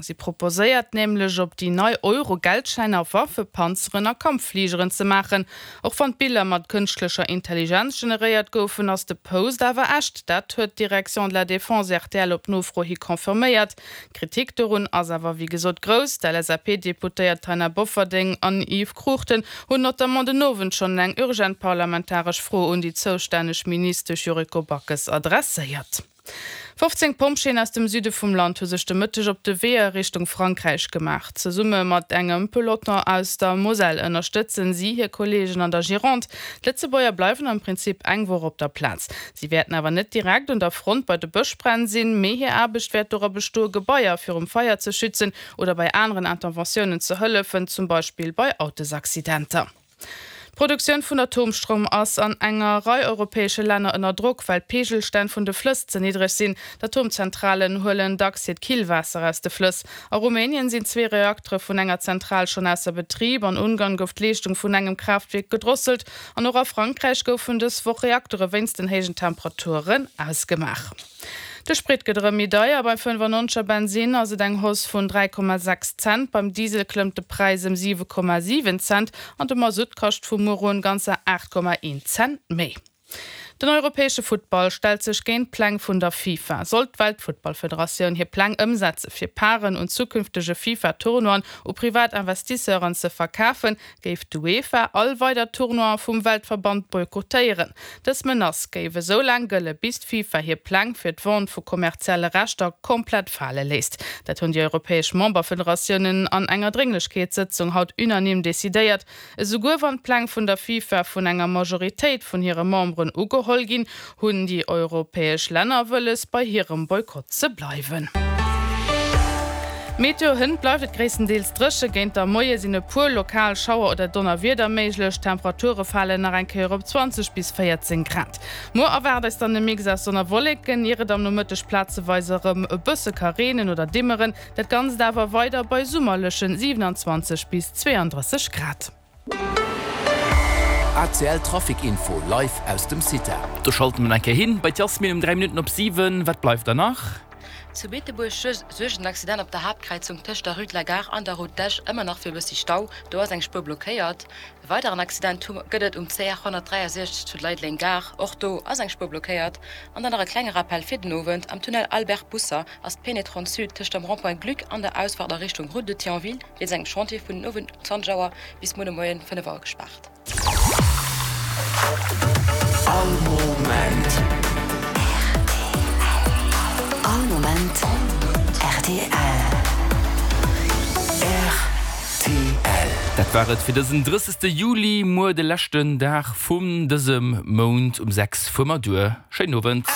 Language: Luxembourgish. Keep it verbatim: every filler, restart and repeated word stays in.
Si proposéiert nämlech op déi nei Euro-Geldschäiner Waffen, Panzeren a Kampffligeren ze maachen. Och wann d'Biller mat kënschtlecher Intelligenz generéiert goufen, ass de Post awer echt. Dat huet d'Direction de la Défense R T L op Nofro hi confirméiert. Kritik dorun ass awer wéi gesot grouss. D'L S A P-Deputéiert Taina Bofferding an Yves Cruchten hunn notamment den Owend schonn eng urgent parlamentaresch Fro un déi zoustänneg Ministesch Yuriko Backes adresséiert. fofzéng Pompjeeën aus dem Süde vum Land hu sech de Mëtteg op de Wee a Richtung Frankräich gemaach. Zesumme mat engem Peloton aus der Moselle ënnerstëtzen si hir Kolleegen an der Gironde. D'Lëtzebuerger bleiwen am Prinzip eng Woch op der Plaz. Si wäerten awer net direkt un der Front bei de Bëschbränn sinn, mee hir Aarbecht wäert dora bestoen, Gebaier virum Feier ze schützen oder bei aneren Interventiounen ze hëllefen, zum Beispill bei Autosaccidenter. D'Produktioun vun Atomstroum ass an enger Rei europäesche Länner ënner Drock, well d'Peegelstänn vun de Flëss ze niddreg sinn. D'Atomzentralen huelen dacks hiert Killwaasser aus de Flëss. A Rumänien sinn zwee Reaktere vun enger Zentral schonn ausser Betrib, an Ungarn gouf d'Leeschtung vun engem Kraaftwierk gedrosselt an och a Frankräich goufen dës Woch Reaktere wéinst den héijen Temperaturen ausgemaach. De Sprit gëtt erëm méi deier, beim fënnefannonzeger Bensin ass et eng Hausse vun dräi Komma sechs Cent, beim Diesel klëmmt de Präis ëm siwe Komma siwen Cent an de Masutt kascht vu muer un ganzer aacht Komma een Cent méi. Den europäesche Futtball stellt sech géint d'Pläng vun der FIFA. Sollt d'Weltfuttballfederatioun hir Pläng ëmsetze fir Paren un zukünftege FIFA-Tournoien u privat Investisseuren ze verkafen, géif d'UEFA all weider Tournoie vum Weltverband boykottéieren. Dës Menace géif esou laang gëlle bis d'FIFA hir Pläng fir d'Vente vu kommerzielle Rechter komplett fale léisst. Dat hunn déi europäesch Memberfederatiounen an enger Drénglechkeetssëtzung haut unanime decidéiert. Esouguer wann d'Pläng vun der FIFA vun enger Majoritéit vun hire Memberen ugeholl ginn, hunn déi europäesch Länner wëlles bei hirem Boykott ze bleiwen. Meteo: Hënt bleift et gréisstendeels dréchen, géint de Moie sinn e puer lokal Schauer oder Donnerwieder méiglech. Temperature falen nach eng Kéier op zwanzeg bis véierzéng Grad. Muer erwaart eis dann e Mix aus Sonn a Wolleken, ier et am Nomëtteg plazeweis erëm e bësse ka reenen oder dimmeren. Dat Ganzt awer weider bei summerleche siewenundzwanzeg bis zweiunddrësseg Grad. R T L Trafic Info live aus dem CITA. Do schalte mer eng Kéier hin bei d'Jasmin um dräi Minutten op siwen. Wat bleift da nach? Zu Beetebuerg suergt en Accident op der Haaptkräizung tëscht der Rue de la Gare an der Route d'Esch ëmmer nach fir e bëssi Stau. Do ass eng Spuer blockéiert. E weideren Accident gëtt et um C R honnertdräiasechzeg zu Leideleng Gare. Och do ass eng Spuer blockéiert. An dann nach e klenge Rappel fir den Owend, Am Tunnel Albert Busser ass d'Pénétrante Sud tëscht dem Rond-point Gluck an der Ausfahrt a Richtung Route de Thionville wéinst engem Chantier vun den Owend zwanzeg Auer bis muer de Moien fënnef Auer gespaart. All Moment. All Moment R T L. R T L. Dat war et fir dësen drëssegste Juli, muer de leschten Dag vun dësem Mount um sechs fuere mer duer. Schéinen Owend.